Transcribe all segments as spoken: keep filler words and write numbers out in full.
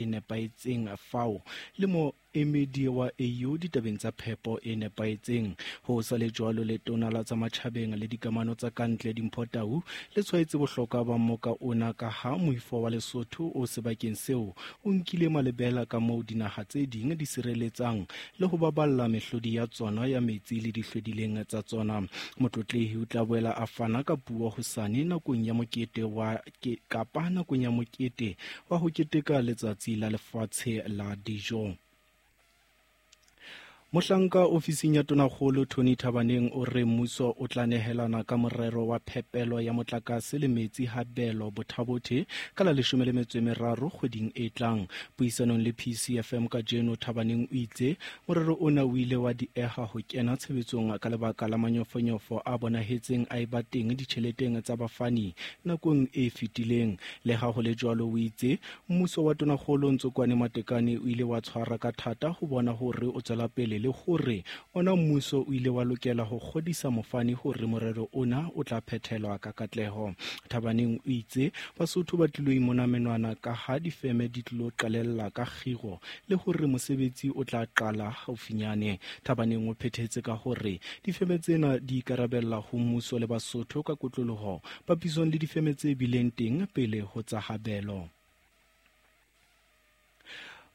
e nepahetseng F A O le moemedi wa A U ditabeng tsa phepo e nepahetseng. Ho sa le jwalo, letona la tsa matjhabeng le dikamano tsa kantle Dimpho Tau le tshwaetse bohlokwa ba mmoka ona ka ha moifo wa Lesotho o sebakeng seo o nkile malebela ka moo dinaha tse ding di sireletsang le ho baballa mehlodi ya tsona ya metsi le dihlwedileng tsa tsona. Motlotlehi o tla boela a fana ka puo hosane nakong ya mokete wa ke, kapa nakong ya mokete wa ho keteka Letsatsi la Lefatshe la Dijo. Mohlanka ofising ya Tonakgolo Tony Thabaneng o re mmuso o tla nehelana ka morero wa phepelo ya motlakase le metsi Habelo Bothabothe ka la leshome le metso e meraro kgweding e tlang. Puisanong le P C F M kajeno, Thabaneng o itse morero ona o ile wa dieha ho kena tshebetsong ka lebaka la manyofonyofo a bonahetseng a eba teng ditjheleteng tsa bafani nakong e fetileng. Leha ho le jwalo, o itse mmuso wa Tonakgolo Ntsokoane Matekane o ile wa tshwara ka thata ho bona hore o tswela pele le hore ona mmuso o ile wa lokela ho kgodisa mofani hore morero ona o tla phethelwa ka katleho. Thabaneng o itse Basotho ba tlilo imona menwana ka ha difeme di tlilo qalella ka kgiro le hore mosebetsi o tla qala haufinyane. Thabaneng o phethetse ka hore difeme tsena di ikarabella ho mmuso le Basotho ka kotloloho papisong le difeme tse bileng teng pele ho tsa Habelo.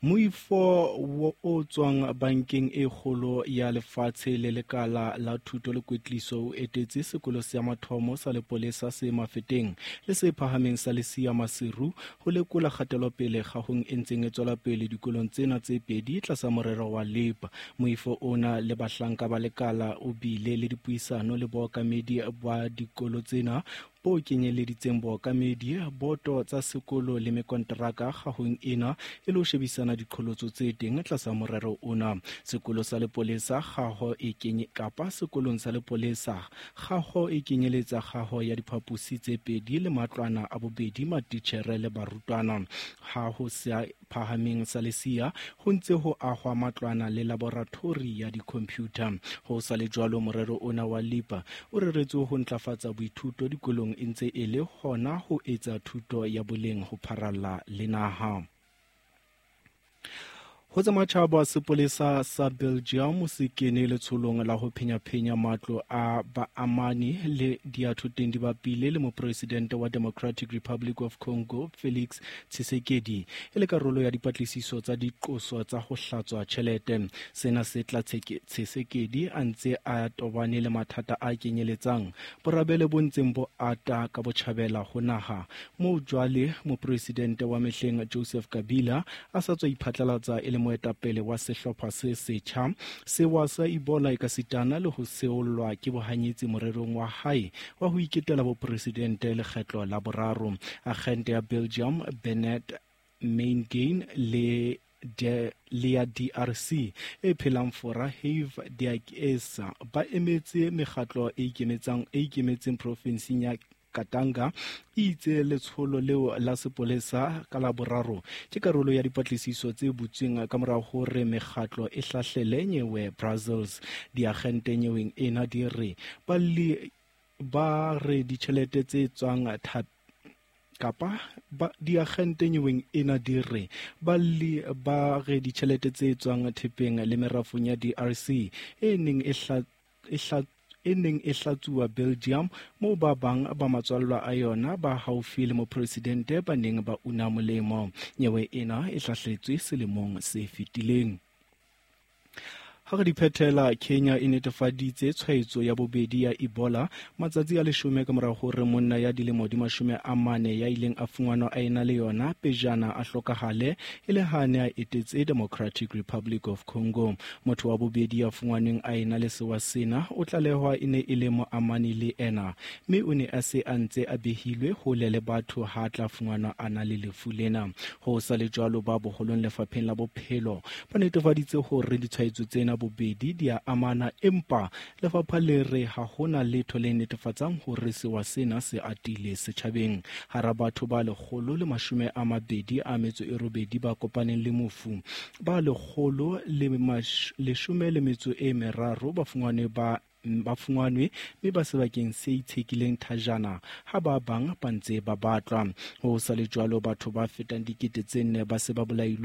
Moifo o tswang Bankeng e Kgolo ya Lefatshe le Lekala la Thuto le Kwetliso o etetse sekolo sa mathomo sa lepolesa se Mafeteng le se phahameng sa Lesia Maseru ho lekola kgatelopele kgahong e ntseng e tswela pele dikolong tsena tse pedi tlasa morero wa LEAP. Moifo ona le bahlanka ba lekala o bile le dipuisano le bookamedi ba dikolo tsena bo kenyeleditseng bookamedi, boto tsa sekolo le mekonteraka kgahong ena e le ho shebisana diqholotso tse teng tlasa morero ona. Sekolo sa lepolesa kgaho e kenye kapa sekolong sa lepolesa kgaho e kenyeletsa kgaho ya diphaposi tse pedi le matlwana a bobedi matitjhere le barutwana. Ha ho sa phahameng sa Lesia ho ntse ho ahwa matlwana le laboratori ya di-computer. Ho sa le jwalo, morero ona wa LEAP o reretswe ho ntlafatsa boithuto dikolong e ntse e le hona ho etsa thuto ya boleng ho pharalla le naha. Ho tsa matjhaba, sepolesa sa Belgium se kene letsholong la ho phenyaphenya matlo a baamani le diathoteng di bapile le mopresidente wa Democratic Republic of Congo Felix Tshisekedi e le karolo ya dipatlisiso tsa diqoso tsa ho hlatswa tjhelete. Sena se tla Tshisekedi a ntse a tobane le mathata a kenyeletsang borabele bo ntseng bo ata ka botjhabela ho naha moo jwale mopresidente wa mehleng Joseph Kabila a sa tswa iphatlalatsa e le moetapele wa sehlopha se setjha. Sewa sa Ebola ekasitana le ho seollwa ke bohanyetsi morerong wa hae wa ho iketela bopresidente lekgetlo la boraro. Agente ya Belgium Bernard Maingain le de le ya D R C e phelang Fora Herve Diakiese ba emetse mekgatlo e ikemetsang e ikemetseng profinseng ya Katanga e itse letsholo leo la sepolesa ka Laboraro ke karolo ya dipatlisiso tse butsweng ka mora hore mekgatlo e hlahlele nyewe Brussels. Diagente nyeweng ena di re balli ba re ditjhelete tse tswang thap kapa ba diagente nyeweng ena di re balli ba re ditjhelete tse tswang thepeng le merafong ya D R C e neng e hla e hla e neng e hlatsuwa Belgium moo ba bang ba matswallwa a yona ba haufi le mopresidente ba neng ba una molemo. Nyewe ena e hlahletswe selemong se fetileng. Ha re di phethela, Kenya e netefaditse tshwaetso ya bobedi ya Ebola matsatsi a leshome ka mora hore monna ya dilemo di mashome a mane ya ileng a fumanwa a ena le yona pejana a hlokahale e le ha ne a etetse Democratic Republic of Congo. Motho wa bobedi ya fumanweng a ena le sewa sena o tlalehwa e ne e le moamani le ena mme o ne a se a ntse a behilwe hole le batho ha tla fumanwa a na le lefu lena. Ho sa le jwalo, ba boholong lefapheng la bophelo ba netefaditse hore ditshwaetso tsena bobedi di a amana, empa lefapha le re ha hona letho le netefatsang hore sewa sena se atile setjhabeng. Hara batho ba lekgolo le mashome a mabedi a metso e robedi ba kopaneng le mofu, ba lekgolo le leshome le metso e meraro ba fumanwe ba ba fumanwe mme ba sebakeng se itshekileng thajana, ha ba bang ba ntse ba batlwa. Ho sa le jwalo, batho ba fetang dikete tse nne ba se ba bolailwe.